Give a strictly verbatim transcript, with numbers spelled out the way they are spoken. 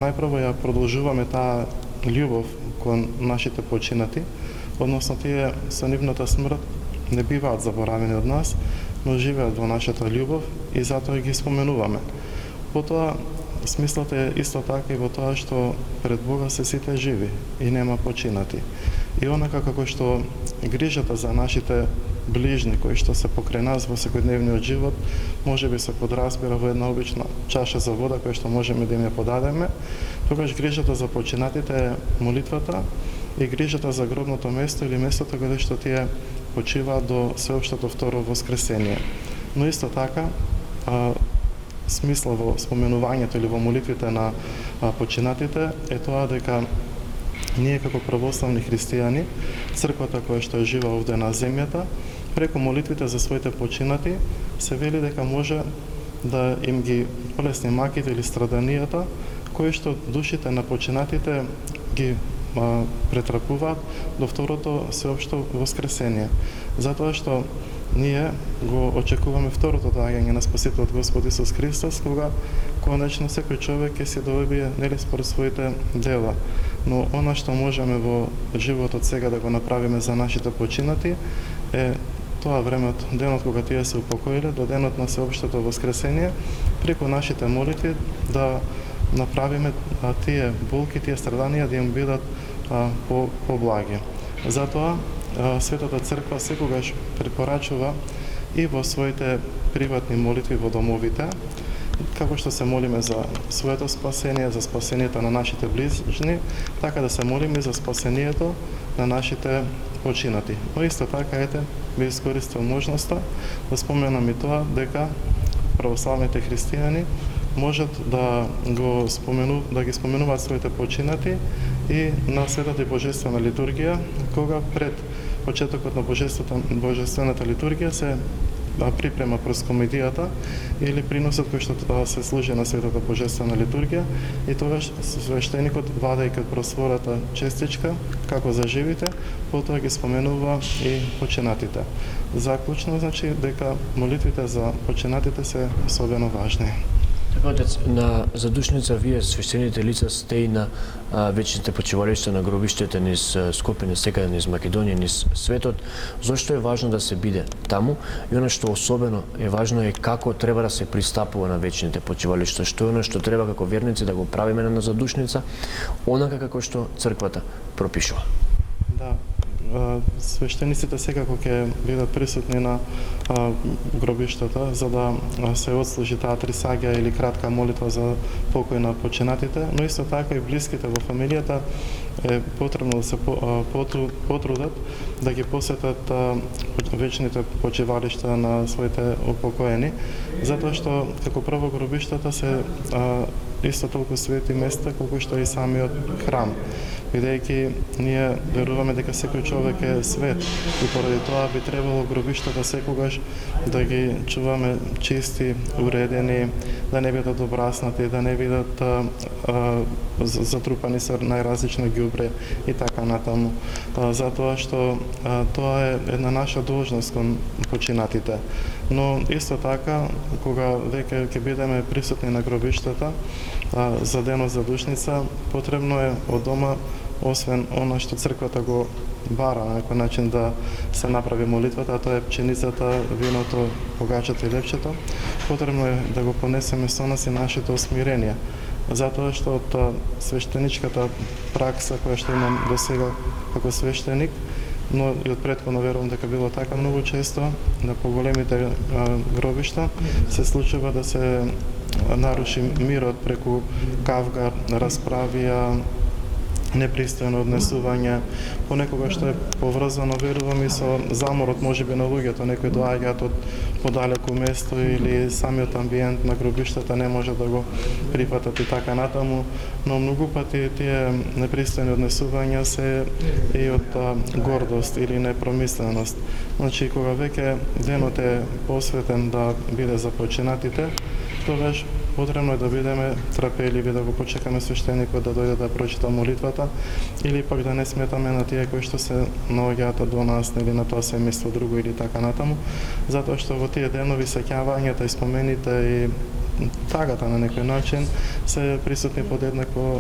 Најпрво ја продолжуваме таа љубов кон нашите починати, односно тие со нивната смрт не биваат заборавени од нас, но живеат во нашата љубов и затоа ги споменуваме. Потоа, смислот е исто така и во тоа што пред Бога се сите живи и нема починати. И онака како што грижата за нашите ближни кои што се покрај нас во секојдневниот живот, може би се подразбира во една обична чаша за вода која што можеме да им ја подадеме, тогаш грижата за починатите е молитвата и грижата за гробното место или местото каде што тие почиваат до сеопштото второ воскресение. Но исто така, а, смисла во споменувањето или во молитвите на а, починатите е тоа дека ние како православни христијани, црквата која што е жива овде на земјата, преку молитвите за своите починати, се вели дека може да им ги полесни маките или страданијата, кои што душите на починатите ги а, претрапуваат до второто сеопшто воскресение. Затоа што ние го очекуваме второто доаѓање на Спасителот Господ Исус Христос, кога конечно секој човек ќе се добие нели според своите дела. Но она што можеме во животот сега да го направиме за нашите починати е тоа времето, денот кога тие се упокоиле, до денот на сеопштото воскресение, преку нашите молитви да направиме а, тие болки, тие страданија да им бидат а, по, поблаги. Затоа а, Светата Црква секогаш препорачува и во своите приватни молитви во домовите, како што се молиме за своето спасение, за спасението на нашите ближни, така да се молиме за спасението на нашите починати. Но исто така, ете, би искористил можноста да споменам и тоа дека православните христијани можат да го спомену, да ги споменуваат своите починати и на Светата и Божествена литургија, кога пред почетокот на Божествената литургија се припрема проскомедијата или приносот кој што се служи на Светата Божествена литургија, и тогаш свештеникот, вадејќи од просвората честичка како за живите, потоа ги споменува и починатите. Заклучно значи дека молитвите за починатите се особено важни. Така, отец, на задушница вие свештените лица сте и на а, вечните почивалишта на гробиштите низ Скопје, низ секаде низ Македонија, низ светот. Зошто е важно да се биде таму? И она што особено е важно е како треба да се пристапува на вечните почивалишта. Што е она што треба како верници да го правиме на задушница, онака како што црквата пропишува. Да. Свештениците секако ќе бидат присутни на а, гробиштата за да се отслужи таа трисаѓа или кратка молитва за покој на починатите, но исто така и блиските во фамилијата е потребно да се потрудат да ги посетат а, вечните почивалишта на своите упокоени, затоа што како прво гробиштата се а, исто толку свети места колку што и самиот храм. Бидејќи ние веруваме дека секој човек е свет и поради тоа би требало гробиштата секогаш да ги чуваме чисти, уредени, да не бидат обраснати, да не бидат а, а, затрупани со најразлично ѓубре и така натаму. А, затоа што а, тоа е една наша должност кон починатите. Но исто така, кога веќе ќе бидеме присутни на гробиштата а, за денот за душница, потребно е од дома, освен она што црквата го бара на некој начин да се направи молитвата, а тоа е пченицата, виното, погачето и лепчето, потребно е да го понесеме со нас и нашето смирение. Затоа што од свештеничката пракса која што имам до сега како свештеник, но и од претходно верувам дека било така многу често на поголемите а, гробишта се случува да се наруши мирот преку кавга, расправија, непристојно однесување, понекогаш што е поврзано, верувам, и со заморот можеби на луѓето, некои доаѓаат од подалеку место или самиот амбиент на гробиштата не може да го прифатат и така натаму, но многу пати тие непристојни однесувања се и од а, гордост или непромисленост. Значи, кога веќе денот е посветен да биде за починатите, тогаш потребно е да бидеме трапеливи, да го почекаме свештеникот да дојде да прочита молитвата, или пак да не сметаме на тие кои што се наоѓаат до нас или на тоа семејство друго или така натаму, затоа што во тие денови сеќавањата и спомените и тагата на некој начин се присутни подеднакво